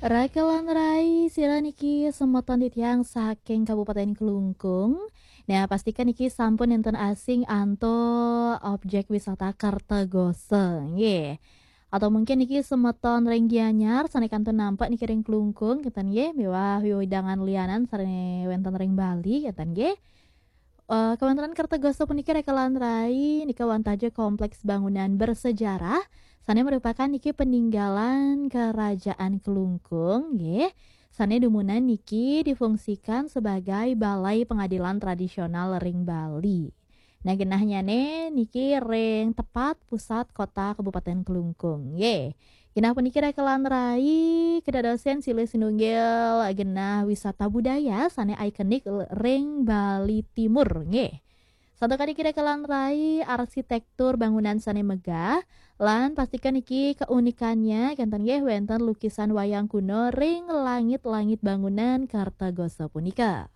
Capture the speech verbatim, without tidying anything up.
Raka lan rai, sira niki semeton titiang saking Kabupaten Klungkung. Nah, pastikan niki sampun enten asing antuk objek wisata Kertagosa, nggih. Atau mungkin niki semeton ring Gianyar, sane kantun nampak niki ring Klungkung, ngeten nggih, miwah wewidangan lianan sane wenten ring Bali, ngeten nggih. Eh, kawontenan Kertagosa puniki, Raka lan rai, nika wantah ja kompleks bangunan bersejarah, sane merupakan niki peninggalan Kerajaan Klungkung, nggih. Sane dumunan niki difungsikan sebagai Balai Pengadilan Tradisional ring Bali. Nah, genahnyane niki ring tepat pusat kota Kabupaten Klungkung, nggih. Genah puniki, Raka lan rai, kedadosen silih sinunggil genah wisata budaya sane ikonik ring Bali Timur, nggih. Santukan niki, Raka lan rai, arsitektur bangunan sane megah, lan pastikan niki keunikannya kenten nggih wenten lukisan wayang kuno ring langit-langit bangunan Kertagosa punika.